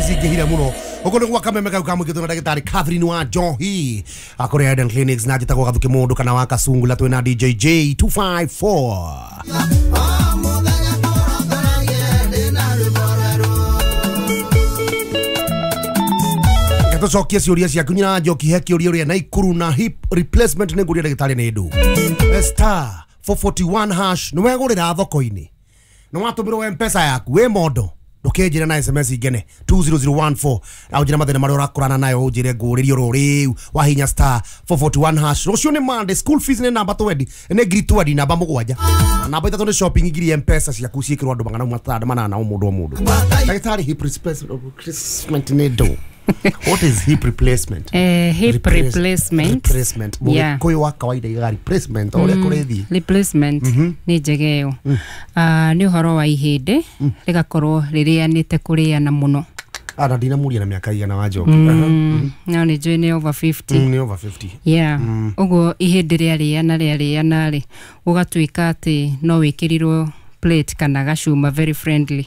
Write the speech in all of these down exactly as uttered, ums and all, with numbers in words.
cingĩhire mũno. Ũguo nĩ gwa kameme kau kamũingĩtwo na ndagĩtarĩ Catherine wa Njohi akũrĩa Eden Clinics, na njĩtagwo Gathuki Mũndũ kana wa Kasungula, twĩna D J J two five four. Tucokie ciũria ciaku nyina Njoki, he kĩũria ũrĩa Naikuru na hip replacement nĩ ngũria ndagĩtarĩ nĩ ndũ. Star four forty-one hash nĩ wegũrĩra thoko-inĩ, nĩ watũmĩrwo M-Pesa yaku wĩ mondo, ndũkĩnjĩra na S M S ingene two zero zero one four na ũnjĩre mathĩna marĩa ũrakorana nayo, ũnjĩre ngũrĩrie oro rĩu wahinya star four forty-one hash. Rũciũ nĩ Monday, school fees nĩ namba twendi nĩ ngiri twendi namba mũgwanja na namba ithatũ nĩ shopping ngiri M-Pesa ciaku ciĩkĩrwo andũ magana matano manana o mũndũ o mũndũ. Ndagĩtarĩ, hip replacement nĩ ndũ? What is hip replacement? Eh, hip Replace, replacement. Replacement. Yeah. Mũgĩkũyũ wa kawaida iga replacement ũrĩa kũrĩthiĩ. Replacement nĩ njega ĩyo. Ah, nĩ ũhoro wa ihĩndĩ rĩgakorwo rĩrĩanĩte kũrĩana mũno. Ah, na ndinamũria na mĩaka igana wa Njoki. Mm, no nĩ njũĩ nĩ over fifty. Mm, nĩ over fifty. Yeah. Ũguo ihĩndĩ rĩarĩana rĩarĩana rĩ, ũgatuĩka atĩ no wĩkĩrirwo plate kana gacuma very friendly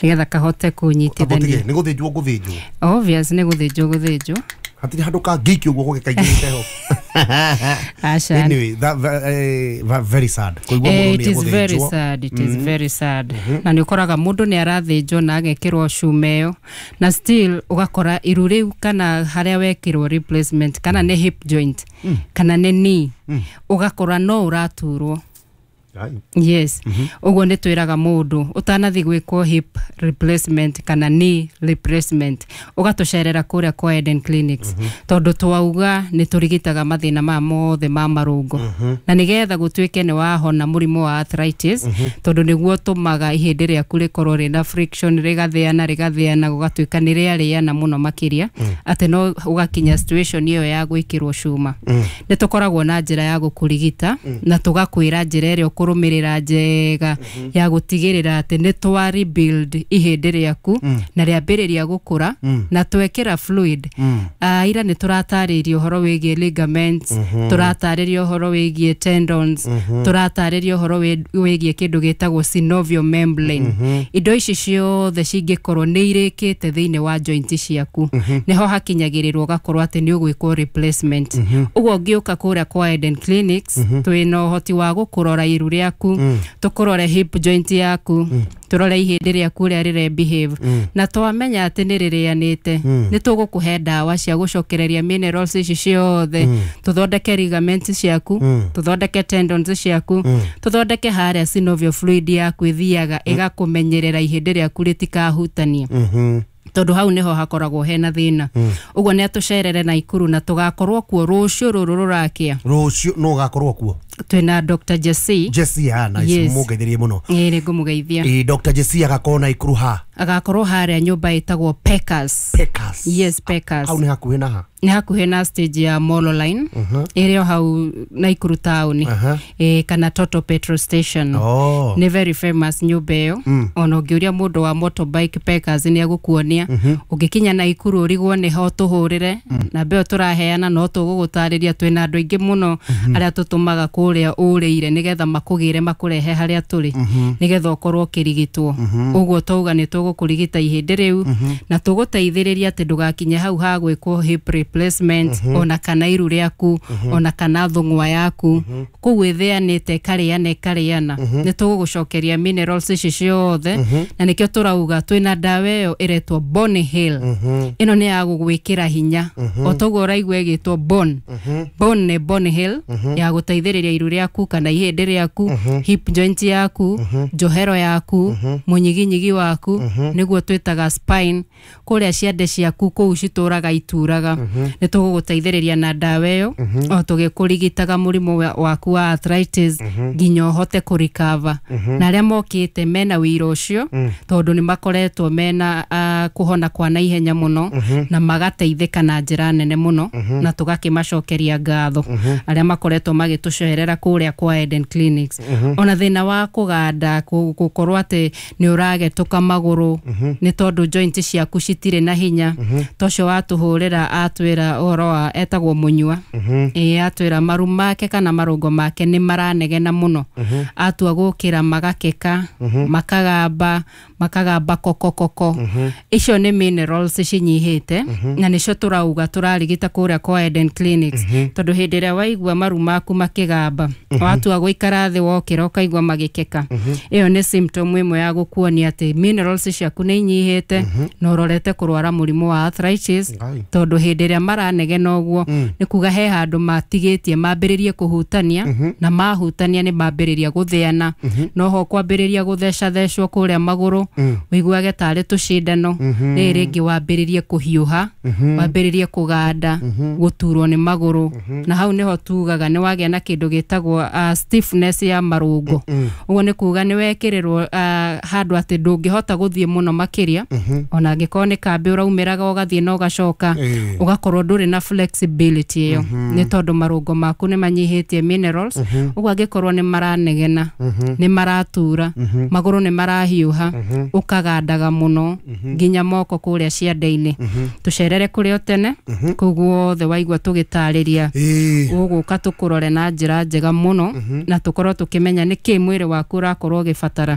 nĩgetha kahote kũnyitithania. Nĩ gũthĩnjwo gũthĩnjwo. Obvious nĩ gũthĩnjwo gũthĩnjwo. Hatirĩ handũ kangĩikio ũguo gũgĩkaingĩrĩte ho. Aca. Anyway, that uh, very sad. Kũigua mũndũ It nĩ is very egũthĩnjwo. sad, it is very sad. Na nĩ ũkoraga mũndũ nĩ arathĩnjwo na agekĩrwo cuma ĩyo na still ũgakora iru rĩu kana harĩa wekĩrwo replacement kana nĩ hip joint kana nĩ knee, ũgakora no ũraturwo. Yes. Ũguo nĩ twĩraga mũndũ ũtanathiĩ gwĩkwo hip replacement kana knee replacement ũgatũcerera kũrĩa kwa Eden Clinics, tondũ twauga nĩ tũrigitaga mathĩna maya mothe ma marũngo, na nĩgetha gũtuĩke nĩ wahona mũrimũ wa arthritis, tondũ nĩguo ũtũmaga ihĩndĩ rĩaku rĩkorwo rĩna friction, rĩgathĩana rĩgathĩana gũgatuĩka nĩ rĩarĩana mũno makĩria atĩ no ũgakinya situation ĩyo ya gwĩkĩrwo cuma. Nĩ tũkoragwo na njĩra ya gũkũrigita na tũgakwĩra njĩra ĩrĩa ũkũrũmĩrĩra njega ya gũtigĩrĩra atĩ nĩ twa rebuild ihĩndĩ rĩaku na rĩambĩrĩria gũkũra na twekĩra fluid. Ah, ira nĩ tũratarĩirie ũhoro wĩgiĩ ligaments, tũratarĩria ũhoro wĩgiĩ tendons, tũratarĩria ũhoro wĩgiĩ kĩndũ gĩtagwo synovial membrane. Indo ici ciothe cingĩkorwo nĩ irĩkĩte thĩinĩ wa joint ciaku, nĩho hakinyagĩrĩrwo ũgakorwo atĩ nĩ ũgwĩkwo replacement. Ũguo ũngĩũka kũrĩa kwa Eden Clinics, twĩna ũhoti wa gũkũrora iru rĩaku, tũkũrore hip joint yaku, tũrore ihĩndĩ rĩaku ũrĩa rĩre behave, na twamenya atĩ nĩ rĩrĩanĩte, nĩ tũgũkũhe ndawa cia gũcokereria minerals ici ciothe, tũthondeke ligaments ciaku, tũthondeke tendons ciaku, tũthondeke harĩa synovial fluid yaku ĩthiaga ĩgakũmenyerera ihĩndĩ rĩaku rĩtikahutania, tondũ hau nĩho hakoragwo hena thĩna. Ũguo nĩ atũcerere Naikuru na tũgakorwo kuo rũciũ rũrũ rũrakĩa. Rũciũ no ũgakorwo kuo? Twĩna Doctor Jesse. Jesse, ah, nice. Yes. Mũngeithĩrie mũno. Ĩĩ, nĩ ngũmũgeithia. Ĩĩ, Doctor Jesse agakorwo Naikuru ha? Agakorwo harĩa nyũmba ĩtagwo Peckers. Peckers. Yes, Peckers. Hau nĩ hakuhĩ na ha? Nĩ hakuhĩ na stage ya Molo Line ĩrĩ o hau Naikuru town, ĩĩ, kana Total petrol station. Oh. Nĩ very famous nyũmba ĩyo. Ona ũngĩũria mũndũ wa motorbike Peckers nĩ egũkuonia. Ũngĩkinya Naikuru ũrigwo nĩho tũhũrĩre, namba ĩyo tũraheana no tũgũgũtarĩria. Twĩna andũ aingĩ mũno arĩa tũtũmaga kũrĩa ũrĩire nĩgetha makũgĩre makũrehe harĩa tũrĩ, nĩgetha ũkorwo ũkĩrigitwo. Ũguo twauga nĩ tũgũkũrigita ihĩndĩ rĩu na tũgũteithĩrĩria atĩ ndũgakinye hau ha gwĩkwo hip replacement, ona kana iru rĩaku, ona kana thũng'wa yaku kũu ĩthĩanĩte ĩkarĩana ĩkarĩana. Nĩ tũgũgũcokeria minerals ici ciothe, na nĩkĩo tũrauga twĩna ndawa ĩyo ĩretwo Bone Heal. Ĩno nĩ ya gũgwĩkĩra hinya, o toguo ũraigua ĩgĩtwo bone. Bone nĩ Bone Heal ya gũteithĩrĩria iru rĩaku kana ihĩndĩ rĩaku, hip joint yaku, njohero yaku, mũnyiginyigi waku, nĩguo twĩtaga spine, kũrĩa ciande ciaku kũu citũraga ituraga. Nĩ tũgũgũteithĩrĩria na ndawa ĩyo o tũgĩkũrigitaga mũrimũ waku wa arthritis nginya ũhote kũrecover. Na arĩa mokĩte mena wĩira ũcio, tondũ nĩ makoretwo mena uh, kũhona kwa naihenya mũno na magateithĩka na njĩra nene mũno, na tũgakĩmacokeria ngatho arĩa makoretwo magĩtũcerera kũrĩa kwa Eden Clinics. Ona thĩna wa kũganda, gũkorwo atĩ nĩ ũragetũka magũrũ nĩ tondũ joint ciaku citirĩ na hinya, tocio watũhũrĩra atwĩra ũhoro wa etagwo Mũnyua, ĩĩ, atwĩra maru make kana marũngo make nĩ maranegena mũno, atua gũkĩra magakeka, makagamba, Makagamba kokokoko. Icio nĩ minerals cinyihĩte na nĩcio tũrauga tũrarigita kũrĩa kwa Eden Clinics, tondũ hĩndĩ ĩrĩa waigua maru maku makĩgamba, watua gũikara thĩ wokĩra ũkaigua magĩkeka, ĩyo nĩ symptom ĩmwe ya gũkuonia atĩ minerals ciaku nĩ inyihĩte na ũrorete kũrwara mũrimũ wa arthritis. Ngai. Tondũ hĩndĩ ĩrĩa maranegena ũguo nĩ kuga he handũ matigĩtie mambĩrĩrie kũhutania, na mahutania nĩ mambĩrĩria gũthĩana, noho kwambĩrĩria gũthecathecwo kũrĩa magũrũ, ũiguage tarĩ tũcindano, rĩrĩ rĩngĩ wambĩrĩrie kũhiũha, wambĩrĩrie kũganda, gũturwo nĩ magũrũ, na hau nĩho tugaga nĩ wagĩa na kĩndũ gĩtagwo uh, stiffness ya marũngo. Ũguo nĩ kuga nĩ wekĩrĩrwo uh, handũ atĩ ndũngĩhota gũthiĩ mũno makĩria, ona angĩkorwo nĩ kambĩ ũraumĩraga ũgathiĩ na ũgacoka, Ĩĩ. ũgakorwo ndũrĩ na flexibility ĩyo, nĩ tondũ marũngo maku nĩ manyihĩtie minerals. Ũguo angĩkorwo nĩ maranegena, nĩ maratura, magũrũ nĩ marahiũha, ũkagandaga mũno nginya moko kũrĩa ciande-inĩ, tũcerere kũrĩ o tene kũu guothe waigua tũgĩtarĩria. Ĩĩ. Ũgũka tũkũrore na njĩra njega mũno na tũkorwo tũkĩmenya nĩkĩ mwĩrĩ waku ũrakorwo ũgĩbatara,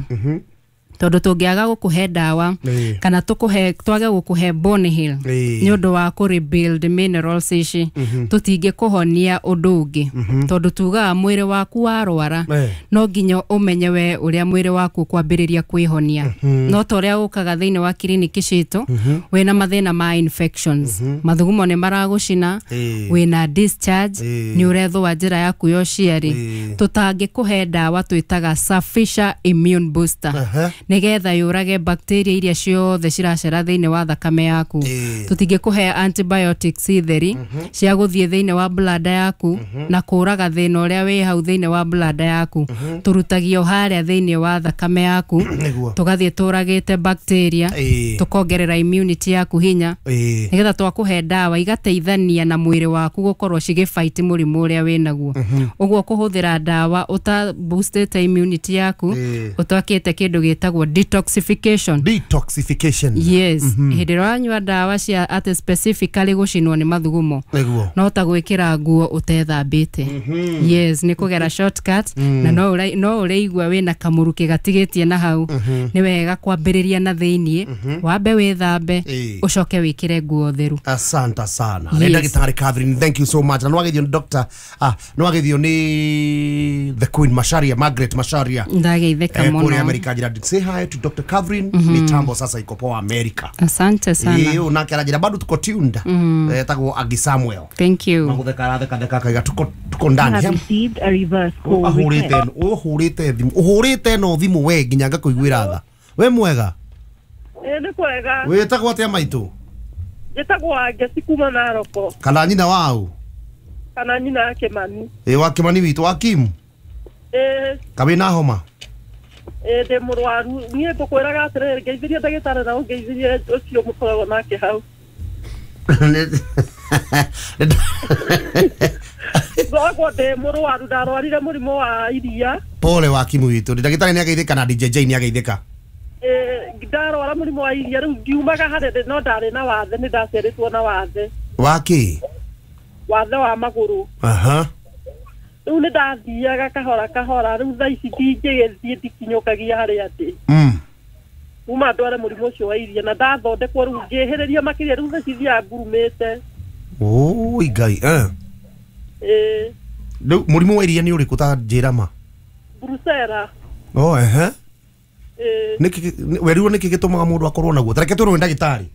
tondũ tũngĩaga gũkũhe ndawa Ĩĩ. kana tũkũhe twage gũkũhe bone heal Ĩĩ. nĩ ũndũ wa kũ rebuild minerals ici, tũtingĩkũhonia ũndũ ũngĩ, tondũ tugaga mwĩrĩ waku warwara Eh. no nginya ũmenye we ũrĩa mwĩrĩ waku ũkwambĩrĩria kwĩhonia. No ta ũrĩa ũkaga thĩinĩ wa kiriniki citũ wĩna mathĩna ma infections, mathugumo nĩ maragũcina, Ĩĩ. wĩna discharge, Ĩĩ. nĩ ũrethũa njĩra yaku ya ũciari, Ĩĩ. tũtangĩkũhe ndawa twĩtaga Safisha Immune Booster Aha. nĩgetha yũrage bacteria iria ciothe ciracera thĩinĩ wa thakame yaku. Ĩĩ. Tũtingĩkũhe antibiotics theri cia gũthiĩ thĩinĩ wa bladder yaku na kũraga thĩna ũrĩa wĩ hau thĩinĩ wa bladder yaku. Tũrutagio harĩa thĩinĩ wa thakame yaku, Nĩguo. tũgathiĩ tũragĩte bacteria, Ĩĩ. tũkongerera immunity yaku hinya, Ĩĩ. nĩgetha twakũhe ndawa igateithania na mwĩrĩ waku gũkorwo cigĩfight mũrimũ ũrĩa wĩnaguo. Ũguo kũhũthĩra ndawa ũta boostĩte immunity yaku, Ĩĩ. ũtwakĩte kĩndũ gĩtagwo detoxification. Detoxification. Yes, hĩndĩ ĩrĩa wanyua ndawa cia atĩ specifically gũcinwo nĩ mathugumo, Nĩguo. no ta gwĩkĩra nguo ũtethambĩte. Yes, nĩ kũgera shortcut na no ũra- no ũrĩigua wĩna kamũrukĩ gatigĩtie na hau. Nĩ wega kwambĩrĩria na thĩiniĩ, wambe wĩthambe, Ĩĩ. ũcoke wĩkĩre nguo theru. Asante sana. Yes. Nĩ ndagĩtarĩ Catherine, thank you so much. Na nĩwagethio nĩ doctor, ah, nĩwagethio nĩ the Queen Macharia, Margaret Macharia. Ndageithĩka Eh, kũrĩa mũno. America njĩra, say hi to Doctor Catherine. Mitambo sasa iko poa America. Asante sana. Ĩĩ, ũyũ nake aranjĩra bado tuko tuned. Etagwo Agi Samuel. Thank you. Magutheka arathekatheka akaiga tuko tuko ndani. Have received a reverse call Ahũrĩte request. ũhũrĩte thimũ, ũhũrĩte no thimũ we nginya ngakũiguĩra tha. We mwega? Ĩĩ, nĩ kwega. Wĩtagwo atĩa maitũ? Njĩtagwo Angeci kuma Naroko. Kana nyina wau? Kana nyina ya Kĩmani. Ĩ, wa Kĩmani witũ wa Kim. Ĩĩ. Kawĩna homa? Ĩĩ, ndĩ mũrwaru. Niĩ ngũkwĩraga atĩrĩrĩ, ngeithirie ndagĩtarĩ na ũngeithirie ũcio mũkoragwo nake hau. Ngoragwo ndĩ mũrwaru, ndarwarire mũrimũ wa iria. Pole wa Kim witũ, ndagĩtarĩ nĩ ageithĩka na D J J nĩ ageithĩka. Ĩĩ, ndarwara mũrimũ wa iria, rĩu ngiumaga harĩa ndĩ, no ndarĩ na wathe, nĩ ndaciarĩtwo na wathe. Wa kĩ? Wathe wa magũrũ. Aha. Rĩu nĩ ndathiaga kahora kahora, rĩu thaa ici ndingĩgĩthiĩ, ndikinyũkagia harĩa ndĩ. Mm. Kuma ndware mũrimũ ũcio wa iria na ndathondekwo, rĩu ngĩhĩrĩria makĩria, rĩu thaa ici thiaga ngurumĩte. Oi Ngai, eh. Ĩĩ. Rĩu mũrimũ wa iria nĩ ũrĩkũ, ta njĩra ma? Brucella. Oh, ehe. Ĩĩ. Nĩkĩ werirwo nĩkĩ gĩtũmaga mũndũ akorwo naguo? Ta reke twĩrwo nĩ ndagĩtarĩ.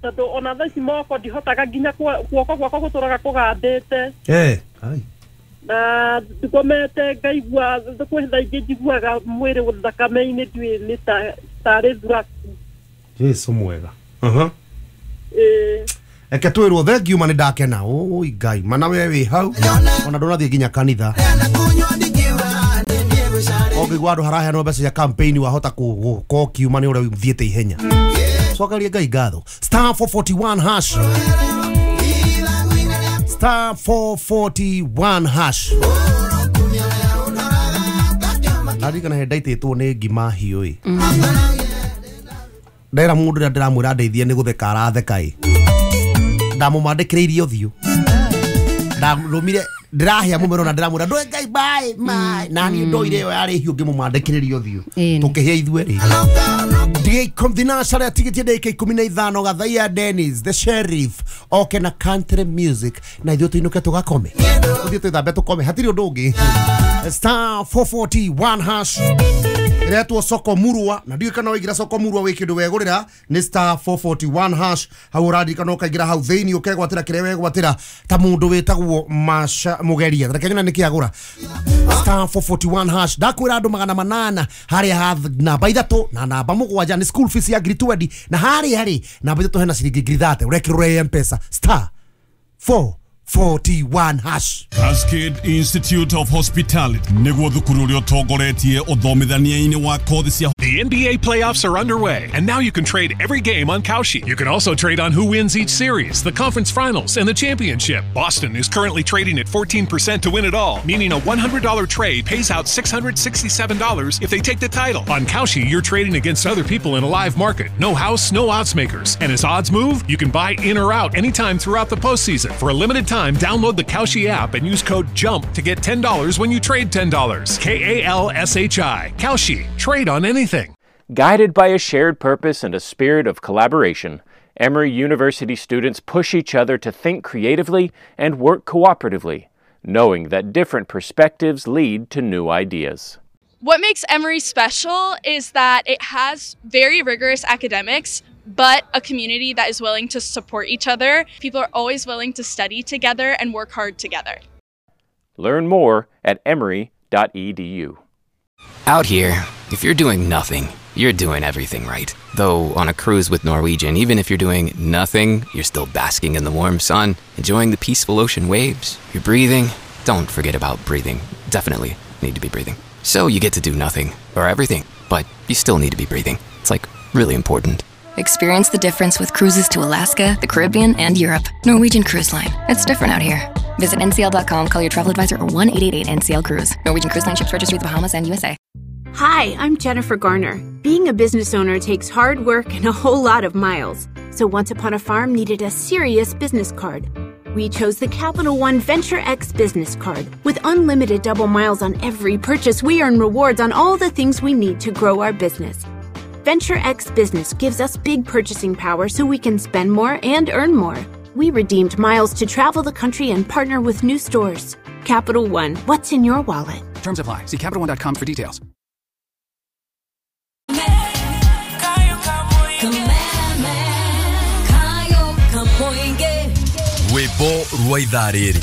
Tondũ ona thaa ici moko ndihotaga nginya guoko gwakwa gũtũraga kũgandĩte. Eh. Ai. Na ngomete ngaigua kwĩ thaa ingĩ njiguaga mwĩrĩ thakame-inĩ ndiũĩ nĩ ta tarĩ thuraku. Jesu mwega. Aha. Ĩĩ. Eke twĩrwo thengiũ ma nĩ ndakena. Oi Ngai, mana we wĩ hau ona ndũnathiĩ nginya kanitha. Ũngĩigua andũ haraheanwo mbeca cia campaign wahota gũkorwo ũkiuma nĩ ũrĩa ũthiĩte ihenya. Cokeria Ngai ngatho. Star four forty-one hash. Star four forty-one hash. Ndarikana he ndaitĩtwo nĩ ngima hiũ ĩ. Ndera mũndũ ũrĩa ndĩramwĩra ndeithie nĩ gũtheka aratheka ĩ. Ndamũmandĩkĩrĩirie ũthiũ. Ndarũmire Ndĩrahĩa mũmero na ndĩramwĩra ndũĩ Ngai bye bye na niĩ ndoire ĩyo yarĩ hiũ ngĩmũmandĩkĩrĩria ũthiũ tũkĩhĩa ithuerĩ. Thinacara tigiti ndagĩka ikũmi na ithano Gathaia Dennis the sheriff oke na country music na ithuĩ tũinũke tũgakome tũthiĩ twĩthambe tũkome hatirĩ ũndũ ũngĩ. Star four forty-one hash iretwo soko murwa na ndiũĩ kana waingĩra soko murwa wĩ kĩndũ wegũrĩra nĩ star four forty-one hash hau ũrandirikana ũkaingĩra hau thĩinĩ ũkegwatĩra kĩrĩa wegwatĩra ta mũndũ wĩtagwo Masha Mũgeria reke nyone nĩkĩ agũra. Star four forty-one hash ndakwĩra andũ magana manana harĩa ha namba ithatũ na namba mũgwanja nĩ school fees ya ngiri twenty na harĩa rĩ namba ithatũ hena ciringi ngiri thate ũrekĩrwo M-Pesa star four forty-one hash. Cascade Institute of Hospitality niguo thukuru uria utongoretie uthomithania-ini wa kothi cia. The N B A playoffs are underway, and now you can trade every game on Kalshi. You can also trade on who wins each series, the conference finals, and the championship. Boston is currently trading at fourteen percent to win it all, meaning a one hundred dollar trade pays out six hundred sixty-seven dollars if they take the title. On Kalshi, you're trading against other people in a live market. No house, no odds makers. And as odds move, you can buy in or out anytime throughout the postseason. For a limited time, download the Kalshi app and use code JUMP to get ten dollars when you trade ten dollars. K A L S H I. Kalshi. Trade on anything. Guided by a shared purpose and a spirit of collaboration, Emory University students push each other to think creatively and work cooperatively, knowing that different perspectives lead to new ideas. What makes Emory special is that it has very rigorous academics, but a community that is willing to support each other. People are always willing to study together and work hard together. Learn more at emory dot e d u. Out here, if you're doing nothing, you're doing everything right. Though on a cruise with Norwegian, even if you're doing nothing, you're still basking in the warm sun, enjoying the peaceful ocean waves. You're breathing. Don't forget about breathing. Definitely need to be breathing. So you get to do nothing or everything, but you still need to be breathing. It's like really important. Experience the difference with cruises to Alaska, the Caribbean, and Europe. Norwegian Cruise Line. It's different out here. Visit N C L dot com, call your travel advisor, or one eight eight eight N C L Cruise. Norwegian Cruise Line ships registry the Bahamas and U S A. Hi, I'm Jennifer Garner. Being a business owner takes hard work and a whole lot of miles. So Once Upon a Farm needed a serious business card. We chose the Capital One Venture X business card. With unlimited double miles on every purchase, we earn rewards on all the things we need to grow our business. Venture X Business gives us big purchasing power so we can spend more and earn more. We redeemed miles to travel the country and partner with new stores. Capital One, what's in your wallet? Terms apply. See Capital One dot com for details. Rwĩmbo rwa ithaa rĩrĩ.